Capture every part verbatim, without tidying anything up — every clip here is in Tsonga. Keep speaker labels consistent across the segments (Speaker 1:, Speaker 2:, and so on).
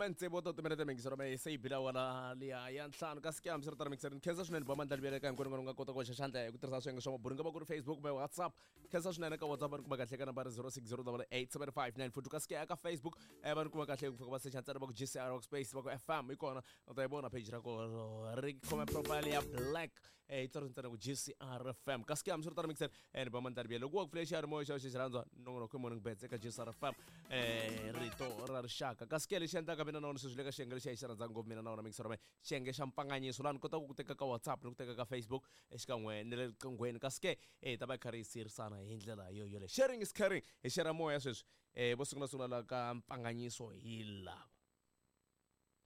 Speaker 1: Khume tsevu wa timinete mingisero me se yi bila wala liya ya ntlhanu kasi ke hambi swi ri tano mingisero ni khensa swinene ba mandla libele ka hinkwenu nga kota ku hoxa xandla hi ku tirhisa swiyenge swa mabulu nga va ku ri Facebook kumbe WhatsApp. Khensa swinene ka WhatsApp va ni kuma kahle ka nambara zero six zero double eight seven five nine four two kasi ke eka Facebook eh va ni kuma kahle ku fika va secha ntsena va ku G C R Workspace va ku F M yi kona u ta yi vona page ra kona ri khome profile ya black eh yi tsariwe ntsena ku G C R F M kasi ke hambi swi ri tano mingisero eh ni ba mandla libele loko wa ku pfule xiyanimoya xa xi rhandzwa nongonoko i Morning Bets eka G C R F M eh rito ra rixaka kasi ke lexi endlaka mina na wona sweswi le ka xiyenge lexi a hi xi rhandzaka ngopfu mina na wona mingisero me xiyenge xa mpfanganyiso laha ni kotaka ku teka ka WhatsApp ni ku teka ka Facebook exikan'we ni le riqinghweni kasi ke eh ta va hi karhi hi sirisana hi ndlela yo yoleyo. Sharing is caring, hi share moya sweswi eh vo sungula sungula la ka mpfanganyiso hi lava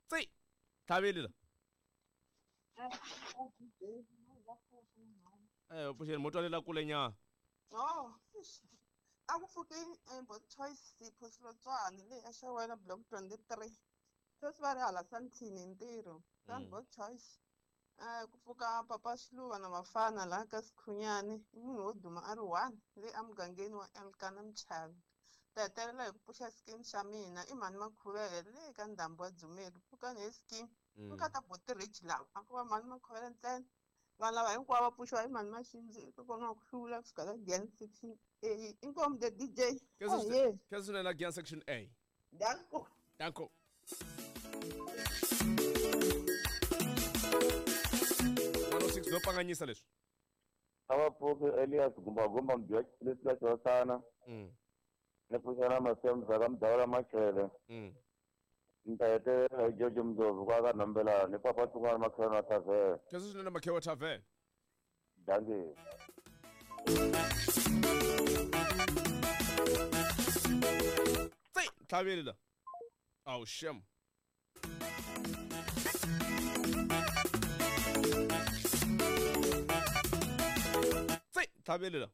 Speaker 1: tsi tlhaveli la eh pfuxeni mo twalela kule nyana.
Speaker 2: Oh, a ku pfukeni bo Choice Sipho Silotswana leyi a xawela block twenty-three. Sweswi va ri hala Sandton hi ntirho. Bo Choice. Ku pfuka Papa Xiluva na Mafana laha ka Sikhunyani i munhu wo duma a ri one leyi emugangeni wa Elkana Mchavi. Ta hetelela hi ku pfuxa scheme xa mina i mhani Makhuvele leyi ka ndhambi wa Dzumeri. Pfukani hi scheme. Ku ta bo ti-rich lava a ku va mhani Makhuvele ntsena. Vanhu lava hinkwavo va pfuxiwa hi mhani Maxindzi kona ku hlula kusuka ka Gian section A. Inkomu the D J.
Speaker 1: Khensa swinene Gian section A.
Speaker 2: Danko.
Speaker 1: Danko. one oh six no panganyisa leswi.
Speaker 3: A va pfuki Elias Gumba Gumba mudya leswi la xosana.
Speaker 1: Mm.
Speaker 3: Ni pfuxana Masemza ka Mdawula Machele.
Speaker 1: Mm.
Speaker 3: Ni ta hetelela hi George Mdlovu kwa ka Nombelana ni Papa Tsungwana Makhewa Tavern.
Speaker 1: Khensa swinene Makhewa Tavern.
Speaker 3: Dankie.
Speaker 1: Tsi tlhaveli la. Awu shem. Tsi tlhaveli la.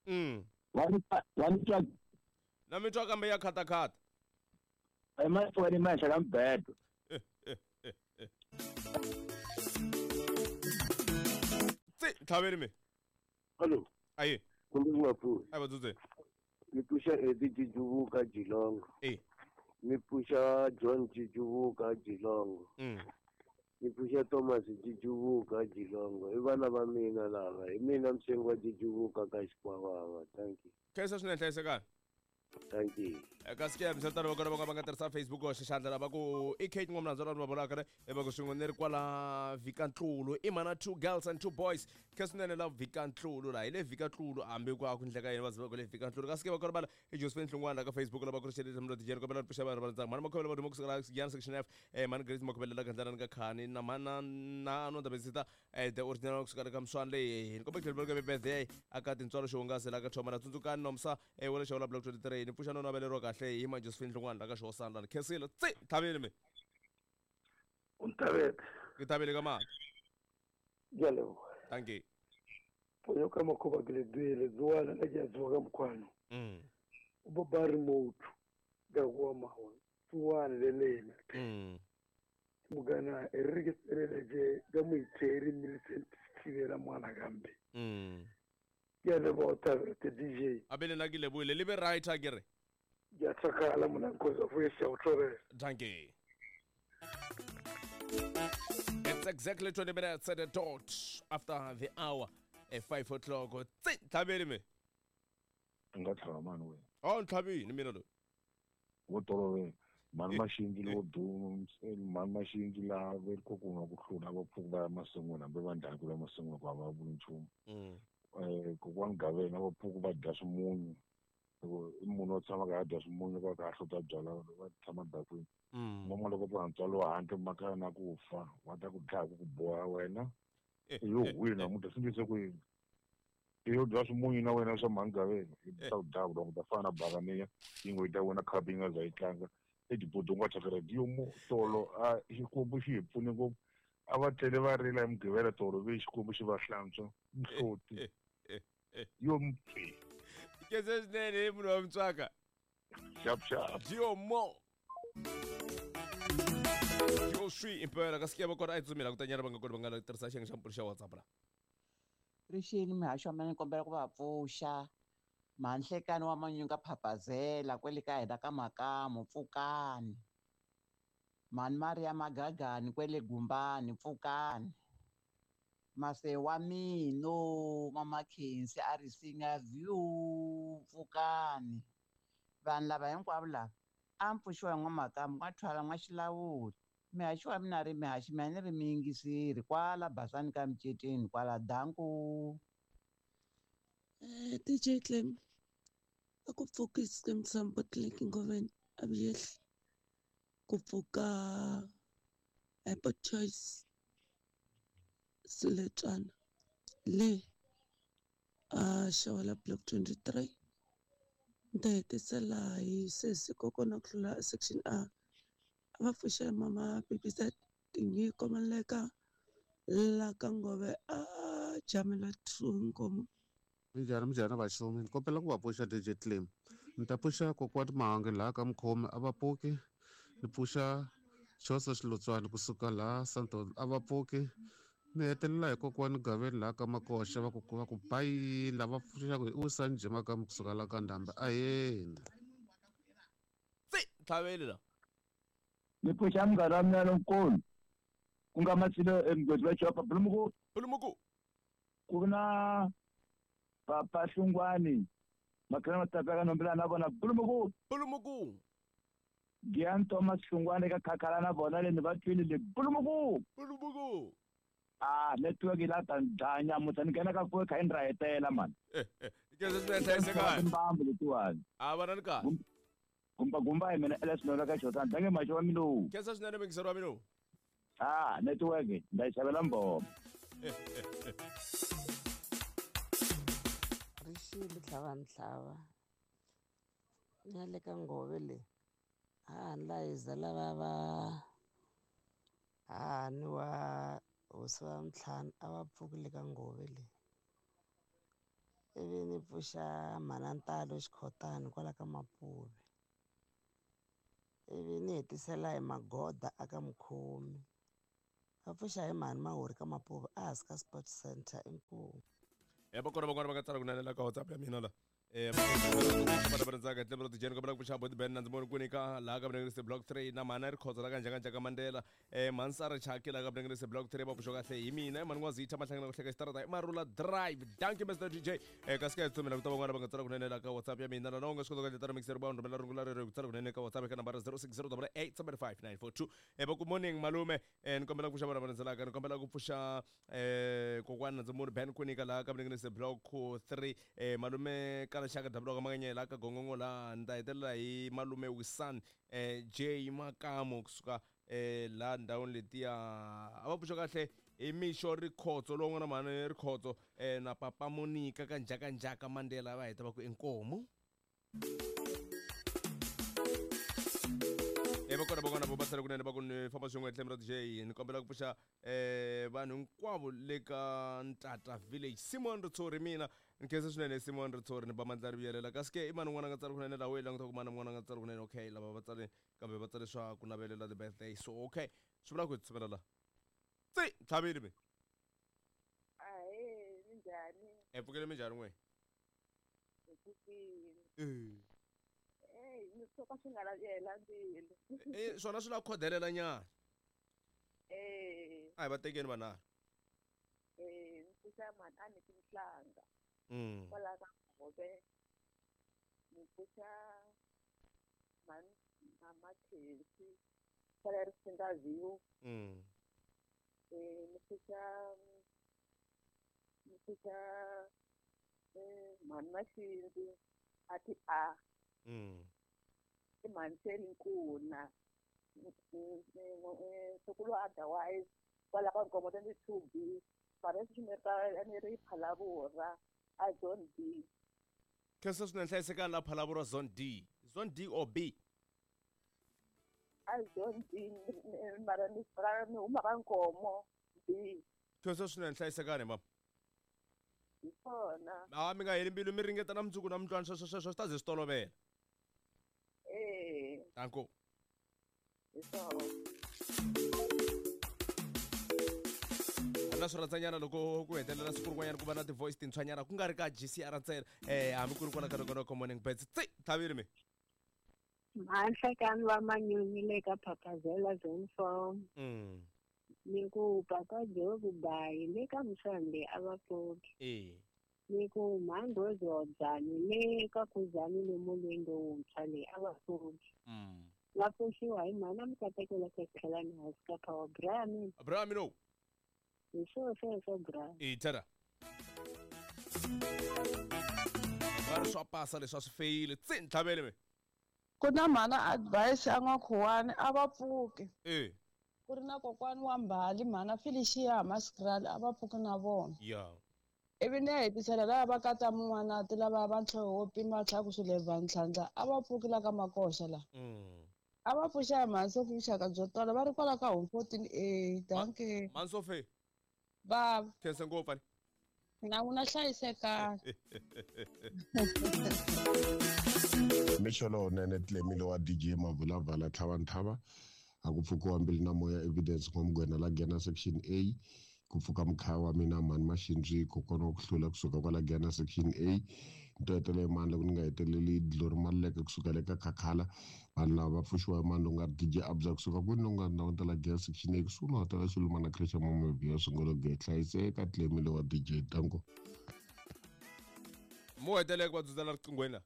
Speaker 1: Mm. Na mi twa kambe ya khatakhata.
Speaker 3: Emahlweni ma henhla ka mbedo.
Speaker 1: Tsi tlhaveli mi.
Speaker 3: Hello.
Speaker 1: Ayi.
Speaker 3: Kumbe ku nga pfuki.
Speaker 1: A va dzudze.
Speaker 3: Ni pfuxa Eddie Jijuvuka Jilongo.
Speaker 1: Eh.
Speaker 3: Ni pfuxa John Jijuvuka Jilongo.
Speaker 1: Mm.
Speaker 3: Ni pfuxa Thomas Jijuvuka Jilongo. I vana va mina lava. Hi mina msengi wa Jijuvuka ka Xikwavava. Thank you.
Speaker 1: Khensa swinene hlayisekani.
Speaker 3: Thank you.
Speaker 1: Kasi ke misatano va kona va nga tirhisa Facebook hoxa xandla lava ku i Kate Ngomlandzo lava va vulaka ne va ku swin'we ni ri kwala Vhikantlulo i mana two girls and two boys khensa swinene la Vhikantlulo la hi le Vhikantlulo hambi ku a ku ndleka yini va ziva ku le Vhikantlulo kasi ke va kona va i Josephine Hlungwana la ka Facebook lava ku ri xelele mlo D J kombela pfuxa vanhu va ntsanga mhani Makhuvele va duma kusuka la Giyani section F eh mhani Grace Makhuvele la ka ndlela ni ka Khani na mhana na no Ndabezita eh the original kusuka ka Mswana leyi ni kombela ku tlhela birthday aka tintswalo xihungasi la ka Thoma na tsundzukani Nomsa eh wala xawula block twenty-three ni pfuxa no naveleriwa kahle hi ma Josephine Hlungwana la ka Xihosana la khensile tsi tlhaveli mi.
Speaker 3: U nthavete.
Speaker 1: Ke thabele ka mali.
Speaker 3: Ke a leboha.
Speaker 1: Thank you.
Speaker 3: Ponyo ka makhoba ke le duele tsoana la ke a tsoga ka mokgwano.
Speaker 1: Mm.
Speaker 3: O bo ba remote ka go mawa tsoana le lena.
Speaker 1: Mm.
Speaker 3: Mugana e re ke tselele je ka moitheri Millicent Thibela mwana kambe.
Speaker 1: Mm.
Speaker 3: Ke a leboha Thabete D J.
Speaker 1: A be le nna ke lebohile le be right a ke re.
Speaker 3: Ke a tlhokala mona nkosi wa foyesa o tlhobela.
Speaker 1: Thank you. It's exactly twenty minutes at the dot after the hour at five o'clock. Tsi tlhaveli mi.
Speaker 4: Nga tlhava mani wena.
Speaker 1: Oh ntlhavini mina loyi.
Speaker 4: Wo tolovela. Mhani Maxindzi lowo duma mhani Maxindzi laha va ri ku nga ku hlula va pfuka va ya masin'wini hambi va njhani ku ya masin'wini ku a va vuli nchumu.
Speaker 1: Mm.
Speaker 4: Eh kokwani Gavena va pfuka va dya swimunyu. Loko i munhu wo tshama ka a dya swimunyu va ka a hlota byala va tshama dakwini.
Speaker 1: Mm.
Speaker 4: N'wana loko va ntswalo wa handle makaya na ku fa wa ta ku dlaya ku ku boha wena. Yo wina munhu swi ndlise ku yini. Yo dya swimunyu na wena swa mhani Gavena i ta ku dlaya ku ta fana na bakaniya yi ngo yi ta wena khapu yi nga za yi tlanga. Etibodong wa tshakara dio mo tolo a xikwembu xi hi pfune ngopfu a va tlele va rila hi Mugqivela tolo ve xikwembu xi va hlantswa mihloti yo mpfi
Speaker 1: Khensa swinene munhu wa mutswaka.
Speaker 4: Xap xap.
Speaker 1: Dio mo. Yo swi impela kasi ke va kona a hi tsutsumela ku ta nyana va nga kona va nga tirhisa xiyenge xa mpfula xa WhatsApp la.
Speaker 5: Rixini mihaxo wa mina ni kombela ku va pfuxa Mhanhlekani wa Manyunga Phapazela kwele ka hina ka Makamu pfukani. Mhani Maria Magagani kwele Gumbani pfukani. Mase wa mino Mama Khensi a ri singa view pfukani. Vanhu lava hinkwavo lava a mi pfuxiwa hi N'wamakamu n'wathwala n'waxilawuli. Mihaxi wa mina ri mihaxi mina ni ri miyingiseri kwala Basani ka Miceteni kwala danku.
Speaker 6: Eh, D J Clem, a ku pfuki Skeem Saam Botlek Ngoveni a vuyehli ku pfuka Apple Choice Siletswana le a Xawela Block twenty-three. Ni ta hetisela hi sesi kokwana ku tlula section A. A va pfuxela mama B B Z tinyiko Maleka la ka Ngove a Jamela two Nkomo.
Speaker 7: Minjhani minjhani vaxumi ni kombela ku va pfuxa D J Clem. Ni ta pfuxa kokwani Mahangi laha ka Mukhomi a va pfuki. Ni pfuxa Chosa Xilotswana kusuka laha Santon a va pfuki. Ni hetelela hi kokwani Gaveni laha ka Makoxa va ku va ku bayi lava pfuxaka hi Usani Jemakamu kusuka laha ka Ndhambi aheni.
Speaker 1: Tsi tlhaveli la.
Speaker 8: Ni pfuxa munghana wa mina lonkulu ku nga Masilo emugodi wa Chopa Bulumuku.
Speaker 1: Bulumuku.
Speaker 8: Ku na Papa Hlungwani Makhana Matapeka Nombela na vona Bulumuku.
Speaker 1: Bulumuku.
Speaker 8: Gian Thomas Hlungwani ka Khakhala na vona le ni va twile le Bulumuku.
Speaker 1: Bulumuku.
Speaker 8: Ah, network yi la ta dlaya muta ni nghena ka four kha ni ra hetela man.
Speaker 1: Eh eh ke se se se
Speaker 8: Mbambu letiwani.
Speaker 1: A va na kahle.
Speaker 8: Gumba gumba hi mina L S Nola ka Xotana dange maxo wa mina.
Speaker 1: Khensa swinene mingiseri wa mina.
Speaker 8: Ah, network nda yi xavela mboma.
Speaker 9: Rixile tlhava ntlhava na le ka Ngove le ha ni la hiza lava va hahani wa hosi wa ntlhanu a va pfuki le ka Ngove le ivi ni pfuxa mhana Ntalo Xikhotani kwala ka Mapuve ivi ni hetisela hi Magoda aka Mukhomi va pfuxa hi mhani Mahori ka Mapuve a hansi ka Sports Center inkomu.
Speaker 1: Ya va kona van'wana va nga tsala kunene la ka WhatsApp ya mina la. Eh va ndzaka tlhelo ra tijeni kombela ku pfuxa Boti Ben na ndzi voni kwini ka laha ka Vunengerisi Block three na mhana Rikhotso la ka Njhakanjhaka Mandela eh Mansara Chaki la ka Vunengerisi Block three va pfuxa kahle hi mina mhani N'wazitha Mahlangana ku hleka xitarata i Marula Drive. Thank you Mister D J. Eh kasi ka tsumela ku ta van'wana va nga tsala kunene la ka WhatsApp ya mina na u nga swi kota ku endla mixer ba rhumela rungula rero ku tsala kunene ka WhatsApp ka nambara zero six zero eight seven five nine four two. Eh va ku morning malume eh ni kombela ku pfuxa vana va ndzelaka ni kombela ku pfuxa eh kokwana ndzi muni Ben kwini ka laha ka Vunengerisi Block three eh malume ka Xaka Dabula ka Makanyela ka Gongongo la ni ta hetelela hi malume Wisan eh J Makamo kusuka eh la ndhawini letiya a va pfuxa kahle hi mixo Rikhotso lowu nga na mhani Rikhotso eh na papa Monica ka Njhakanjhaka Mandela va heta va ku inkomu. Eh va kona van'wana vo va tsala kunene va ku ni famba swin'we etlhelo ra D J ni kombela ku pfuxa eh vanhu hinkwavo le ka Ntata Village Simon Ritsori mina ni khensa swinene Simon Ritsori ni ba mandla ri vuyelela kasi ke i mani un'wana a nga tsala kunene laha wo languta ku mani un'wana a nga tsala kunene okay lava va tsale kambe va tsale swa ku navelela the birthday so okay swi vula ku hi tsuvela laha tsi tlhavile mi.
Speaker 2: Ahee minjhani?
Speaker 1: E pfukele minjhani n'we?
Speaker 2: Hi pfukile.
Speaker 1: Eh.
Speaker 2: Ey, ni swo ka swi nga lavela mbilu.
Speaker 1: Eh swona swi la khodelela nyana.
Speaker 2: Eh.
Speaker 1: A hi va tekeni vanharhu.
Speaker 2: Eh, ni pfuxa mhani a ni tinhlanga.
Speaker 1: Mm.
Speaker 2: Kwala ka Ngove. Ni pfuxa mhani Mama Khensi kwala Risinga View.
Speaker 1: Mm.
Speaker 2: Eh, ni pfuxa ni pfuxa eh mhani Maxindzi a ti a.
Speaker 1: Mm.
Speaker 2: I mhani Nkuna ntukulu otherwise kwala ka Nkomo twenty-two B mara sweswi ni ri ni ri Phalavura a Zone D.
Speaker 1: Khensa swinene hlayisekani la Phalavura Zone D. Zone D or B?
Speaker 2: A Zone D mara ni ni huma ka Nkomo B.
Speaker 1: Khensa swinene hlayisekani mama.
Speaker 2: Hi swona.
Speaker 1: A mi nga heli mbilu mi ringeta na mundzuku na mutwani sweswo sweswo swi ta ze swi tolovela.
Speaker 2: Eh.
Speaker 1: Danko.
Speaker 2: Hi swona.
Speaker 1: Na swi rhandzanyana loko ku hetelela siku rin'wanyana ku va na ti-voice tintshwanyana ku nga ri ka G C R ntsena um hambi ku ri kwala ka nongonoko Morning Birds. Tsi thavile mi
Speaker 10: Mahlekani va manyunyu le ka Phaphazela Zone four.
Speaker 1: Mm.
Speaker 10: Ni ku papa Jobu Bayi le ka Msande a va pfuki.
Speaker 1: E
Speaker 10: Ni ku mhandzozodzani le ka Kuzani le molweni lowuntshwa le a va pfuki.
Speaker 1: Mm.
Speaker 10: Va pfuxiwa hi mhana Mkatekela ka Tlhelani House ka Power Brian.
Speaker 1: Abraham no.
Speaker 10: Hi swo sweswo Brian.
Speaker 1: E tara. Va ri swa pasa leswi a swi feyile. Tsi ntlhavele mi.
Speaker 6: Ku na mhana advice a n'wakhuwani a va pfuki.
Speaker 1: E.
Speaker 6: Ku ri na kokwani wa Mbali mhana Felicia Maskrali a va pfuki na vona.
Speaker 1: Ya.
Speaker 6: Ivi ni ya hetisela lava va kata mun'wanati lava va ntlhoho wo pima tlhaku swileva ntlhantlha a va pfuki la ka Makoxa la.
Speaker 1: Mm.
Speaker 6: A va pfuxa hi mhani Sophie vuxaka byo tala va ri kwala ka home fourteen A. Dankie.
Speaker 1: Mhani Sophie.
Speaker 6: Bava.
Speaker 1: Khensa ngopfu ani.
Speaker 6: Na n'wina hlayisekani.
Speaker 11: Mixolo nene Tlemile wa D J Mavulavala Tlhavanthava a ku pfukiwa mbilu na moya evidence n'wamugwena la Giyani section A ku pfuka mukhaya wa mina mhani Maxindzi kokwana wa ku hlula kusuka kwala Giyani section A nto hetelela mani loko ni nga heteleli Glory Maluleke kusuka le ka Khakhala vanhu lava va pfuxiwa hi mani lowu nga ri D J Abza kusuka kwini lowu nga ndhawini ta la Giyani section A kusuhi no hatela Xilumana Christian Mamabia sungula ku hlayiseka Tlemile wa D J Tanko.
Speaker 1: Mo heteleka va dzudzela riqinghweni la.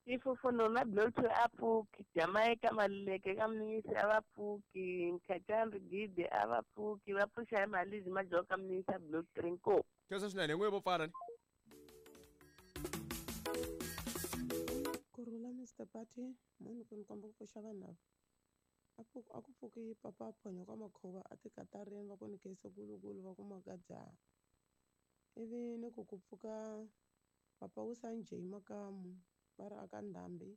Speaker 12: Ifufuno na Bluetooth a pfuki, Jamaica Maluleke ka Mnisi a va pfuki, Mkhatambi Gidi a va pfuki, va pfuxa hi Malizi Majoka Mnisi a Blue Trinko.
Speaker 1: Khensa swinene hi n'wi vo pfala ni.
Speaker 9: Kurhula Mister Party, munhu ku ni komba ku pfuxa vanhu lava. A ku a ku pfuki papa Phonyo ka Makhuva a tikatarini va ku ni khensa kulukulu va ku makadzaha. Ivi ni ku ku pfuka papa Wusanjei Makamu va ri aka Ndhambi.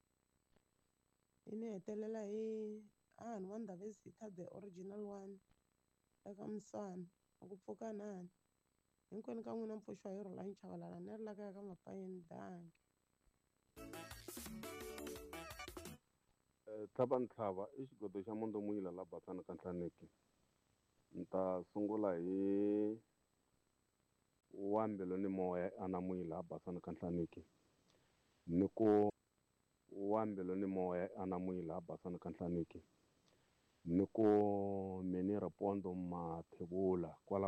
Speaker 9: Yi ni hetelela hi hahani wa Ndhavezitha the original one eka Muswana a ku pfuka nani. Hinkwenu ka n'wina mpfuxiwa hi Rhulani Chavalala ni ri la kaya ka Mapayeni danki.
Speaker 13: Tlhavantlhava i xigodo xa Mondomuyila la Batsana ka Nhlaneki. Ni ta sungula hi wa mbilu ni moya Anamuyila Batsana ka Nhlaneki. Ni ku wa mbilu ni moya Anamuyila Batsana ka Nhlaneki. Ni ku mini Ripondo Mathebula kwala